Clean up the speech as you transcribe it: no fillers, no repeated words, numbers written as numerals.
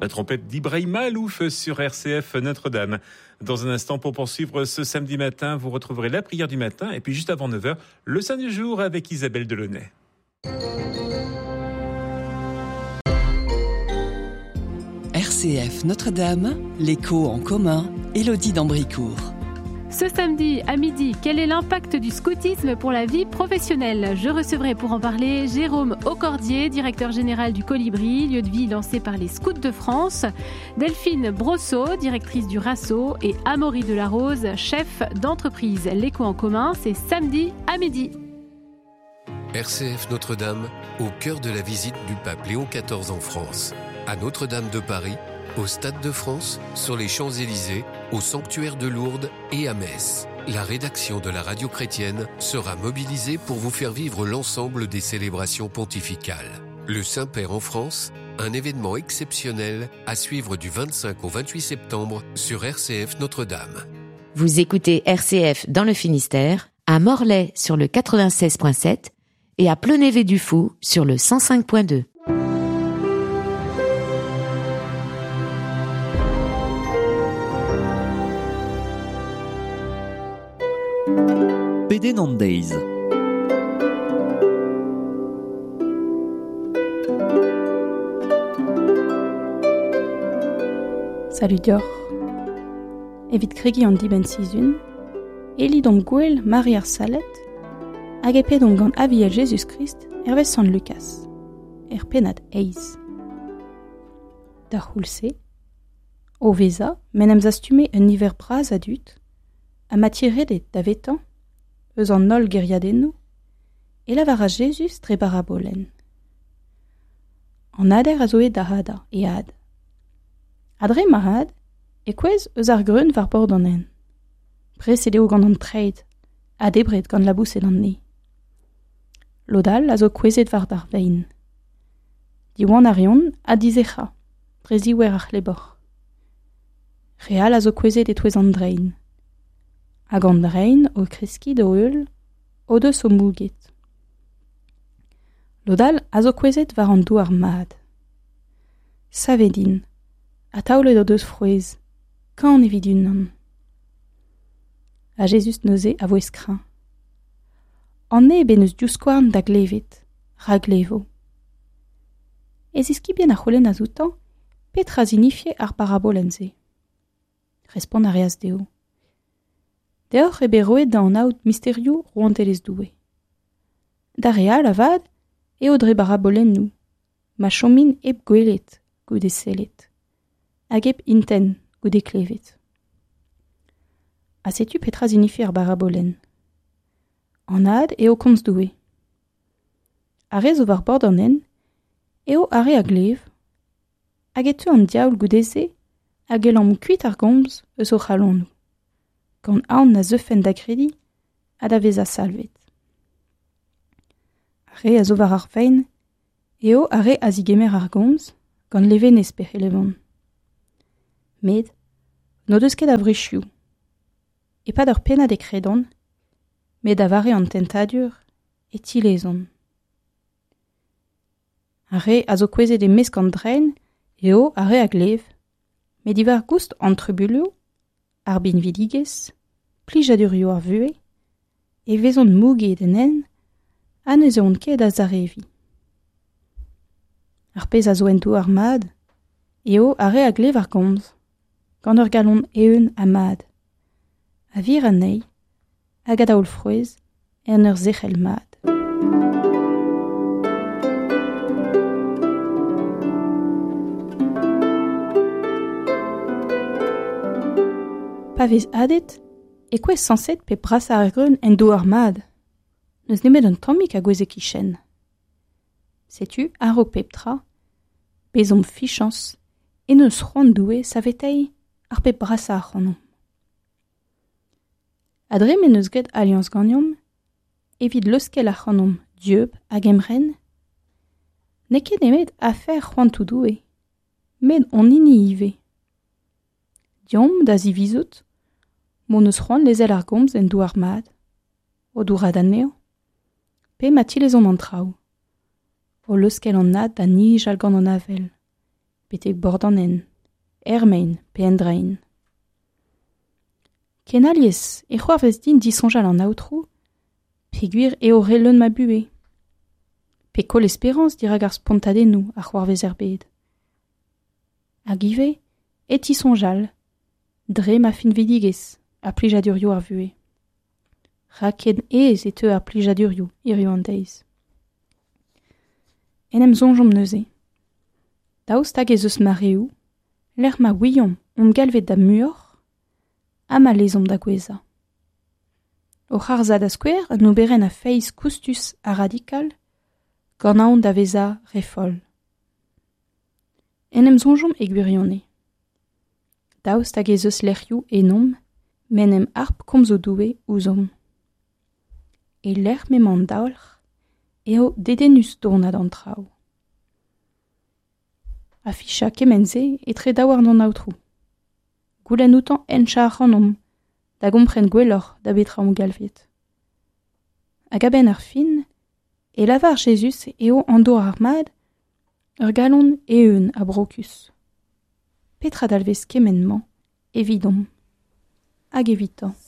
La trompette d'Ibrahim Malouf sur RCF Notre-Dame. Dans un instant, pour poursuivre ce samedi matin, vous retrouverez la prière du matin et puis juste avant 9h, le Saint du jour avec Isabelle Delaunay. RCF Notre-Dame, l'écho en commun, Élodie d'Ambricourt. Ce samedi à midi, quel est l'impact du scoutisme pour la vie professionnelle Je recevrai pour en parler Jérôme Aucordier, directeur général du Colibri, lieu de vie lancé par les Scouts de France, Delphine Brosseau, directrice du Rasso, et Amaury Delarose, chef d'entreprise. L'écho en commun, c'est samedi à midi. RCF Notre-Dame, au cœur de la visite du pape Léon XIV en France, à Notre-Dame de Paris, au Stade de France, sur les Champs-Élysées, au Sanctuaire de Lourdes et à Metz. La rédaction de la radio chrétienne sera mobilisée pour vous faire vivre l'ensemble des célébrations pontificales. Le Saint-Père en France, un événement exceptionnel à suivre du 25 au 28 septembre sur RCF Notre-Dame. Vous écoutez RCF dans le Finistère, à Morlaix sur le 96.7 et à Plonévé-du-Fou sur le 105.2. Pedenn an deiz. Salud deoc'h. Evit kregiñ an dibenn-sizhun, e lidomp gouel Mari ar Salet hag e pedomp gant Aviel Jezuz-Krist hervez Sant Lukaz, er pennad eizh. D'ar c'houlz-se, o vezañ m'en em zastume un niver bras a dud, ha ma tiredet davetañ eus an holl gêriadennoù, e lavaras Jezuz dre barabolenn. An hader a zo aet da hadañ e had. Ha dre ma had e kouezh eus ar greun war bord an hent. Preset eo gant an treid ha debret gant laboused an neñv. Lod all a zo kouezhet war ar vein. Diwan a reont ha dizec'hañ dre ziouer ar c'hlebor. Re all a zo kouezhet e-touez an drein. Hag an drein o kreskiñ d'o heul o deus o mouget. Lod all a zo kouezhet war an douar mat. Savet int ha taolet o deus frouezh, kant evit unan. Ha Jezuz neuze a voe kreñv. An neb en deus divskouarn da glevet, ra glevo. E ziskibien a c'houlennas outañ petra zinifie ar parabolenn-se. Respont a reas dezho. Deoc'h eo bet roet da anaout misterioù rouantelezh Doue. D'ar re all avat eo dre barabolennoù, ma chomint hep gwelet goude sellet, hag hep intent goude klevet. Ha setu petra zinifi ar barabolenn. An had eo komz Doue. Ar re zo war bord an hent eo ar re a glev, hag e teu an diaoul goude-se hag e lamm kuit ar gomz eus o c'halonoù, gant aon na zeufent da grediñ ha da vezañ salvet. Ar re a zo war ar vein eo ar re a zigemer ar gomz gant levenez pe c'helevont. Met n'o deus ket a wrizioù. E-pad ur pennad e kredont, met da vare an tentadur e tilezont. Ar re a zo kouezhet e-mesk an drein eo ar re a glev, met diwar goust an trubuilhoù, ar binvidigezh, plijadurioù ar vuhez, e vezont mouget en hent ha ne zeuont ket da zareviñ. Ar pezh a zo en douar mat eo ar re a glev ar gomz, gant ur galon eeun ha mat, a vir anezhi hag a daol frouezh en ur zerc'hel mat. Pa vez hadet e kouezh sañset pe brasañ ar greun en douar mat. N'eus nemet un tammig a gouezh e-kichen. Setu, a-raok pep tra, bezomp fichañs en deus c'hoant Doue saveteiñ ar pep brasañ ac'hanomp. Ha dre m'en deus graet aliañs ganeomp, evit leuskel ac'hanomp dieub hag emren, n'eo ket nemet afer c'hoantoù Doue, met hon hini ivez. Deomp da zivizout m'hon eus c'hoant lezel ar gomz en douar mat, o dourad anezhañ, pe ma tilezomp an traoù, o leuskel an had da nijal gant an avel, betek bord an hent, er maen pe en draen. Ken alies e c'hoarvez din disoñjal an Aotrou, peogwir eo re leun ma buhez. Pe koll esperañs dirak ar spontadennoù a c'hoarvez er bed. Hag ivez e tisoñjal, dre ma finvidigezh ha plijadurioù ar vuhez. Rak ken aes e teu ar plijadurioù hiziv an deiz. En em soñjomp neuze. Daoust hag ez eus mareoù, lec'h ma ouiomp omp galvet da muioc'h, ha ma lezomp da gouezhañ. O c'harzhañ da skouer un oberenn a feiz koustus ha radikal, gant aon da vezañ re foll. En em soñjomp e gwirionez. Daoust hag ez eus lec'hioù ennomp m'en em harp komzoù Doue ouzhomp. E lec'h m'emañ an daolc'h eo dedennus dournad an traoù. Afichañ kement-se etre daouarn an Aotrou. Goulenn outañ henchañ ac'hanomp da gompren gwelloc'h da betra omp galvet. Hag a-benn ar fin e lavar Jezuz eo an dour ar mad ur galon eeun ha brokus. Petra dalvez kement-mañ evidomp hag evitañ?